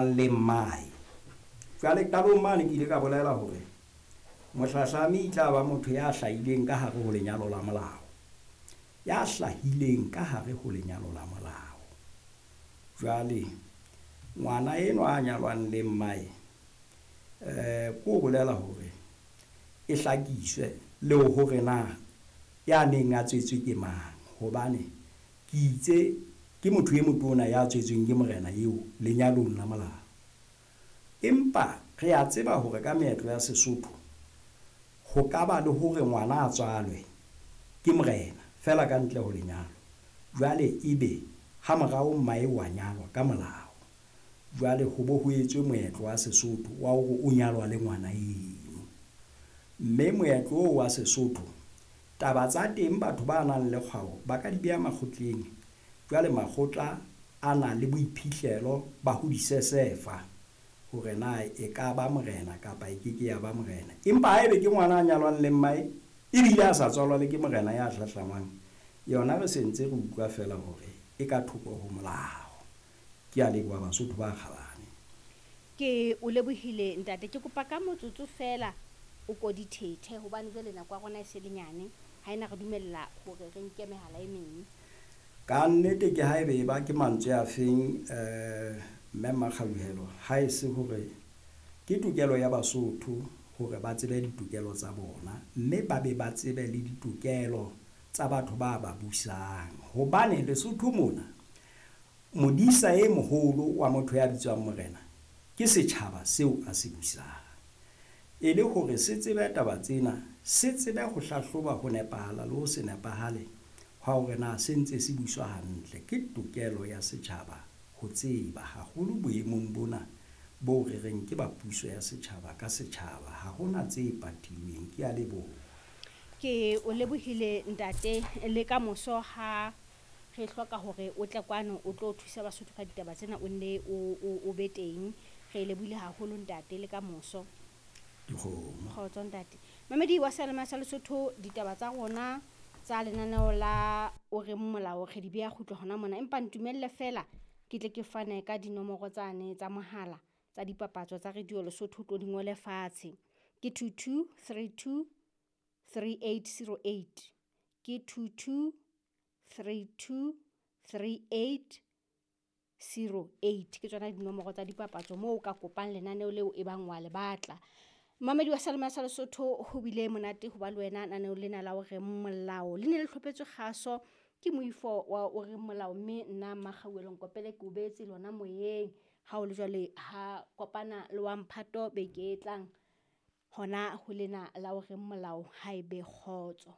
Le mmae. Jwale qalong mane ke ile ka bolela hore mohlahlami e tla ba motho ya hlahileng ka hare ho lenyalo la molao. Ya hlahileng ka hare ho lenyalo la molao. Jwale ngwana enwa a nyalwang le mmae ko bolela hore e hlakiswe le hore na ya neng a tswetswe ke mang, hobane ke itse ke motho e motona ya tswetsweng ke morena eo lenyalong la molao. Empa re a tseba hore ka meetlo ya Sesotho ho ka ba le hore ngwana a tswalwe ke morena feela ka ntle ho lenyalo. Jwale ebe ha morao mmae wa nyalwa ka molao. Jwale ho bo ho etswe moetlo wa Sesotho wa hore o nyalwa le ngwana eno. Mme moetlo oo wa Sesotho, taba tsa teng batho ba nang le kgwao ba ka di beha makgotleng. Jwale makgotla a na le boiphihlelo ba ho di sesefa hore na e ka ba morena kapa e ke ke ya ba morena. Empa haebe ke ngwana a nyalwang le mmae ebile a sa tswalwa le ke morena ya hlahlamang, yona re sentse re utlwa feela hore e ka thoko ho molao. Ke a leboha Basotho ba kgabane. Ke o lebohile ntate. Ke kopa ka motsotso feela o ko dithethe hobane jwale nako ya rona e se le nyane, ha ena re dumella hore re nke mehala e meng. Ka nnete ke haebe e ba ke mantswe a feng mme Mmakgauhelo, ha e se hore ke tokelo ya Basotho hore ba tsebe ditokelo tsa bona, mme ba be ba tsebe le ditokelo tsa batho ba ba busang. Hobane Lesotho mona modisa e moholo wa motho ya bitswang morena ke setjhaba seo a se busang. E le hore se tsebe taba tsena, se tsebe ho hlahloba ho nepahala le ho se nepahale hwa hore na se ntse se buswa hantle. Ke tokelo ya setjhaba ho tseba haholo boemong bona bo re reng ke ba puso ya setjhaba ka setjhaba. Ha hona tse patilweng. Ke a leboha. Ke o lebohile ntate, le ka moso ha re hloka hore o tle kwano o tlo thusa Basotho ka ditaba tsena, o nne o be teng. Re lebohile haholo ntate, le ka moso. Dikgomo. Kgotso ntate. Mamedi wa Seyalemoya sa Lesotho, ditaba tsa rona tsa lenaneo la o reng molao re di beha kgutlo hona mona, empa ntumelle feela ke tle ke fane ka dinomoro tsane tsa mohala tsa dipapatso tsa Radio Lesotho, tlo di ngole fatshe. Ke 22 32 3808, ke 22 32 3808. Ke tsona dinomoro tsa dipapatso moo o ka kopang lenaneo leo e bang wa le batla. Mamedi wa Seyalemoya sa Lesotho, ho bile monate ho ba le wena naneo lena la o reng molao. Le ne le hlopetswe kgaso ke moifo wa o reng molao, mme nna Mmakgauhelo Nkopele ke o beetse lona moyeng. Ha o le jwale ha kopana le wa mphato beke e tlang hona ho lena la o reng molao, ha ebe kgotso.